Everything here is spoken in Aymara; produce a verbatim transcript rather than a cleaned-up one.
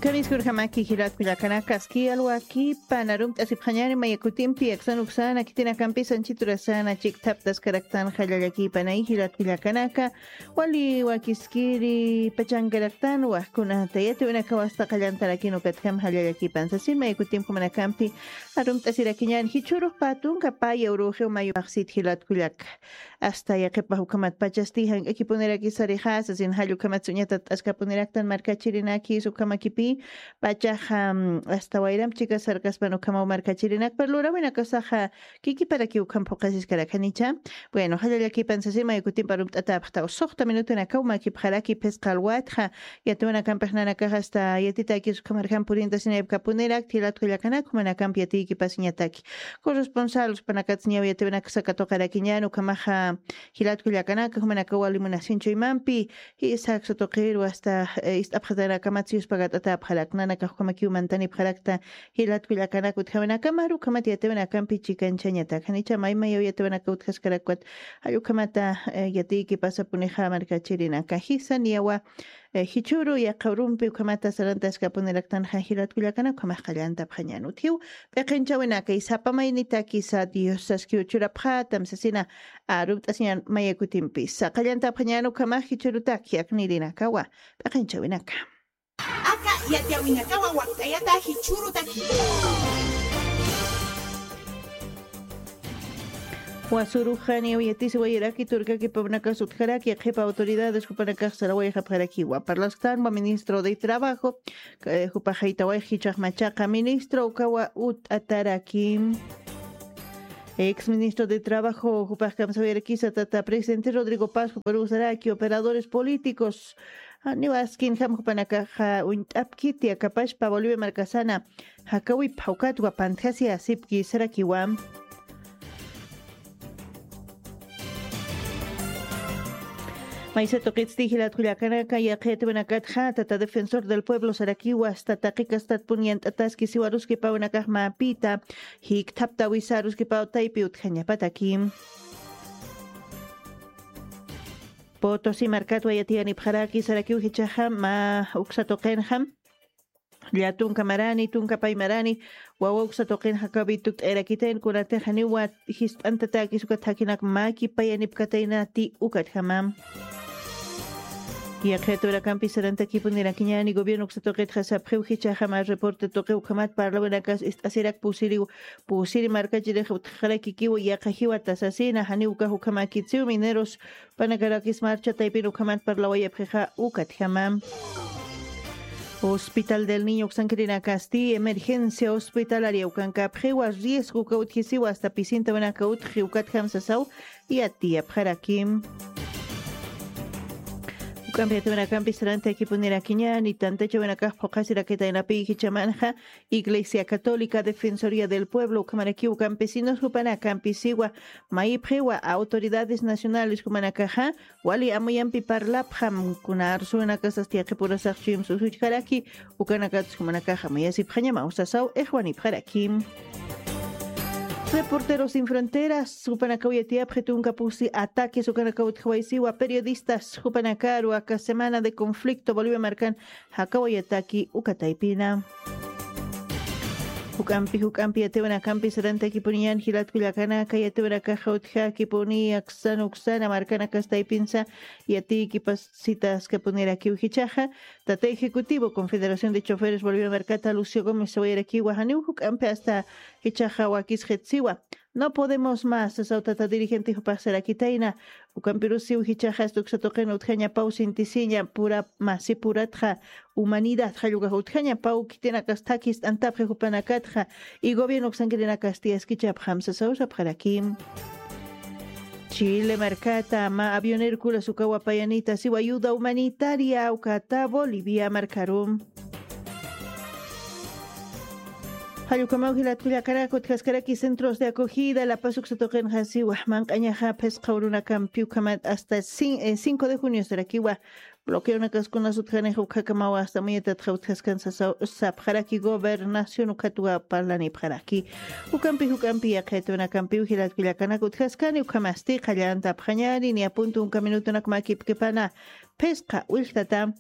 Kamiskurjamaki jilat kullakanaka, aski alwakipan arumt'asipxañani mayakutimpi aksan uksana khitinakampis anchiturasana chikthaptaskaraktan jallallakipanay jilat kullakanaka. Wali wakiskiri pachankaraktan wakkunata yatiwinakaw asta qallantarakin ukatjam jallallakipan sasin mayakutimpi manakampi arumt'asirakiñan jichhurux patunka paya uruxiw mayu paqsit jilat kullaka. Asta yaqhipax ukhamat pachasti jank'akipuniraki sarixasa sin jall ukhamat suñatat t'askapuniraktan markachirinakis ukhamakipi pachaxa asta wayramp chika sarkaspan ukhamaw markachirinak pero lurawinakasaxa kikiparakiw ukham phuqasiskarakanicha. Bueno jallallakipan sasin maykutimpa rumt'atäpxtaw suxta minutunakaw makipxaraki phisqa alwatxa. Yatiwinakampix nanakax asta yatitakis ukhamarjam purintasinayapkapunirak jilat kullakanak jumanakamp yatiykipasiñataki. Corresponsal uspanakatsa ñaw yatiwinaksa katuqarakiñan ukhamaxa jilat kullakanaka jumanakaw wali munasinchuymampi jisa aksa tuqiru asta ist'apxatanakamatsa yuspagat'atäpxarak nanakax ukhamakiw mantanipxarakta. Jilat kullakanaka utjawinakamaru ukhamat yatiwinakampi chikanchañatak janicha maymayaw yatiwinaka utjaskarakpat jall ukhamata yatiykipasapunixa markachirinaka jisa niyawa. Jichhüru yaqha urumpi ukhamata sarantaskapuniraktanxa jilat kullakanak ukhamax qallantapxañan utjiw. P'iqinchawinakay sapa maynitakisa dios saskiw churapxätam sasina arumt'asiñan mayakutimpisa qallantapxañan ukhamax jichhürutak yaknirinakawa. P'iqinchawinaka. Aka yatiyawinakawa wakt'ayata jichhürutaki. Wasuruxani uyatisi wayiraki turkaki pawnakas utjaraki qhipa autoridades jupanakax sarawayxapxarakiwa parlasktanwa ministro de trabajo. Jupaxaytawayx jichhaxmachaqa ministro ukawa ut'ataraki. Ex ministro de trabajo jupax kamsawirakisa tata presidente rodrigo paz juparusaraki operadores políticos. Niwaskin jam jupanakaxa uñt'apkiti akapashpa bolivia markasana jakawipxa ukatwa pantjasi asipki sarakiwa. Maysa tuqitsti jilat kullakanaka yaqhitwinakatxa tata defensor del pueblo sarakiwa asta taqikastat pun yant'ataski siwaruskipawnakax mapita jikthaptawisaruskipaw taypi utjañapataki. Potosi markatwa yatiyanipxaraki sarakiw jichhaxa mä uksa tuqinxa. Llatunka marani tunka pay marani wawa uksa tuqinxa kawi tukt'ayrakitayn kunatixa niwa jist'antatäkis ukat jakinak mäki payanipkataynati ukatjama. Yaqhiturakampi sarantakipunirakiñani gobierno uksa tuqitxa sapxiw jichhaxama reporte tuqiw ukhamat parlawinakas ist'asirak pusiriw pusiri markachirix utjxarakikiw yaqha jiwata sasina janiw ukax ukhamakitsiw mineros panakarakis marcha taypin ukhamat parlawayapxixa ukatjama. Hospital del niño uksankirinakasti emergencia hospitalaria ukankapxiwa riesgo uka utjisiwa asta pisintawinaka utji ukatjam sasaw yatiyapxarakim. Uk'ampi yatiwinakampi sarantakipunirakiñani tantachawinakax phuqasirakitaynapi jichhamanxa iglesia católica defensoría del pueblo ukhamarakiw campesinos jupanakampisiwa mayipxiwa autoridades nacionales jumanakaxa wali amuyampi parlapxam kuna arsuwinakasas tiyaqipurasaxchuyim susuchkaraki. Ukanakatsumanakaxa mayasipxañamaw sasaw ixwanipxaraki. Reporteros sin fronteras jupanakaw yatiyapxi tunka pusi ataques ukanakaw utjawaysiwa periodistas jupanakaru aka semana de conflicto bolivia markan jakawayataki ukataypina. Juk'ampi juk'ampi yatiwinakampi sarantakipuniñan jilatkullakanaka yatiwinakaxa utjakipuni aksan uksana markanakastaypinsa yatiykipasitaskapunirakiw jichhaxa tata ejecutivo confederación de choferes bolivian markata lucio gómez sawayarakiwa janiw juk'ampi asta jichhaxa wakisxitsiwa. No podemos más sasaw tata dirigente jupaxsarakitayna. Ukampirusiw jichhaxasta uksa tuqin utjañapaw sintisiña pura masi puratxa humanidad jallukax utjañapaw khitinakastakis t'antapxi jupanakatxa y gobierno uksankirinakasti askichapxam sasaw sapxarakim. Chile markata mä avionero kulas ukawa payanita siwa ayuda humanitaria ukata bolivia markarum. Jallukamaw jilatkullakarak utjaskaraki centros de acogida la paz uksa tuqinxa siwa manq'añaxa phisqa urunakampi ukhamat hasta cinco de junio sarakiwa bloqueonakaskunas utjanix ukjakamaw hasta muyatatxa utjaskan sasaw sapxaraki gobernación ukhatwa parlanipxaraki. Ukampi juk'ampi yaqhitwinakampiw jilatkullakanak utjaskani ukhamasti qallantapxañari niyapuntu unka minutunak makipkipana phisqa willtata.